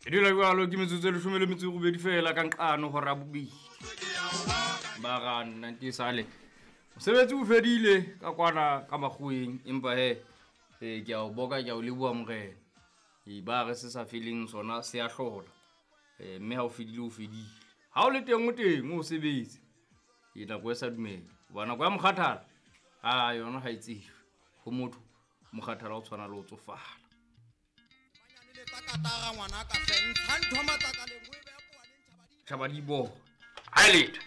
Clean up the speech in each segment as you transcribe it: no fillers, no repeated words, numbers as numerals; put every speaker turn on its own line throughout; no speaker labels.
E dula jalo ke metsotso e leshome le metso e robedi fela ka nqano hora bobedi. Ba ra nna ke sale. Mosebetsi o fedile ka kwana ka makgoweng empa he eh, ke a o boka ke a o leboha morena. E ba re se sa feleng sona se a hlola. Eh, mme ha o fedile o fedile. Ha o le teng o teng o sebetse. E nako e sa dumele. Hoba nako ya mokgathala a yona ha e tsejwe. Ho motho mokgathala o tshwana le ho tsofala. Tjhaba di bo. Ha e letho.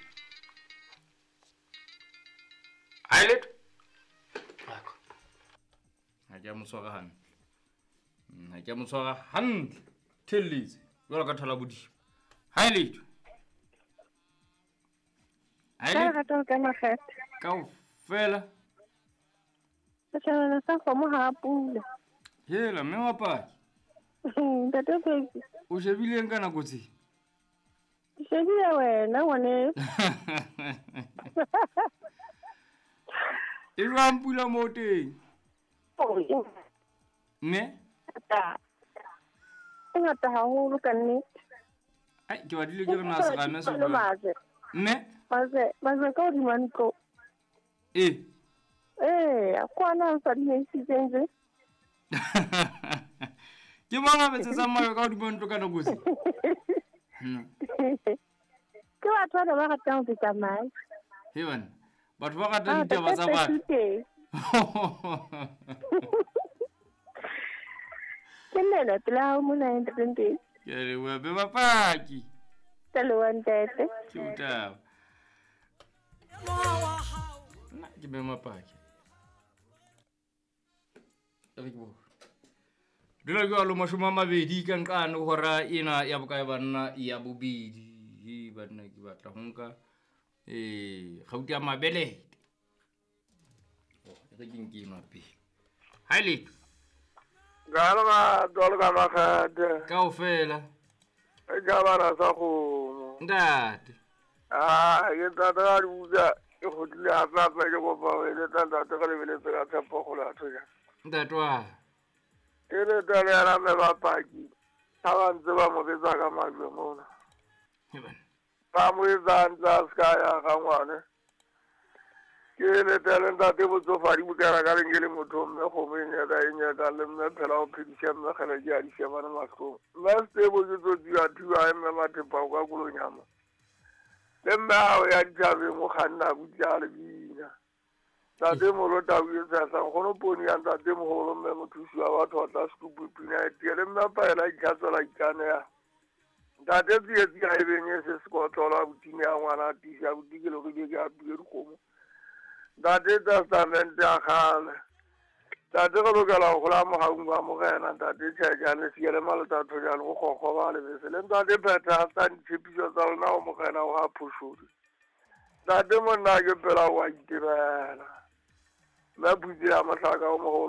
Ha e letho. Ha ke a mo tshwara hantle. Ha ke a mo tshwara hantle. Thelletse jwalo ka thola bodimo. Ha e letho. Ha e letho. Kaofela.
Setjhabana sa kgomo ha pula.
Hela mme wa paki.
Ntate Peki.
O shebileng ka nako tse?
Ke shebile wena ngwaneso.
E jwang pula moo teng? Ne?
E ngata haholo ka nnete.
Ai, ke badile ke re na serame se jwang. Ne?
Majwe ka hodima ntlo.
E.
Ee, kwana o sa di neisitseng je.
Ke mang a betsetsang majwe ka hodima ntlo ka nako tse?
Ke batho bana ba ratang ho betsa majwe.
He bana, batho ba ratang ditaba tsa batho.
Ke nna pela hao mona ntate Mpedi.
Ke a leboha be bapaki.
Ke a leboha ntate.
Ke botaba. Nna ke be mapaki. Re ke bo. Dula jwalo 20 ka nqane hora ena ya bokae banna ya bobedi. He banna ke batla ho nka kgauta ya mabelete. Oh, re ke nke enwa pele. Ha e letho.
Galma dolga makgate.
Kaofela.
E jabana sa kgomo.
Ntate.
Ah, ke ntate ga di buka ke kgutlile hape hape ke kopa ho eletsa ntate re lebeletse ka tshepo kgolo ya thoja.
Ntate wa.
Ke le tale ya mme bapaki. Ha ba ntse ba mo betsa ka majwe mona. Ba mo etsa ntse a ska ya ga ngwane. Ke le tale ntate botsofadi bokera ka leng ke le motho mme kgomo e nyaka e nyaka le mme phela o phedisa mme kgele ke a di shebana mahlong. Mme sebo ke tsotsi ya thuwa mme mathepa o ka kolonyama. Le mme hao ya dithabeng o kganna butla le bina. Ntate molo tau e tshasa nkgono poni ya ntate moholo mme mothusi wa batho wa tla sekupu pina e tie le mme paela itlhatswela ikaneha. Ntate tsietsi ha e benye se sekotlolo a botine ya ngwana a tiisa buti ke lorile ke apile dikgomo. Ntate testamente ya kgale. Ntate re lokela ho hola mohaung wa morena ntate Tjhejane siele malota thojane go kgokgo ba lebese le ntate phetha tsa ditshepiso tsa lona ho morena wa phoshodi. Ntate monna ke pela wa itebela. Mme putse ya mohlaka o moholo.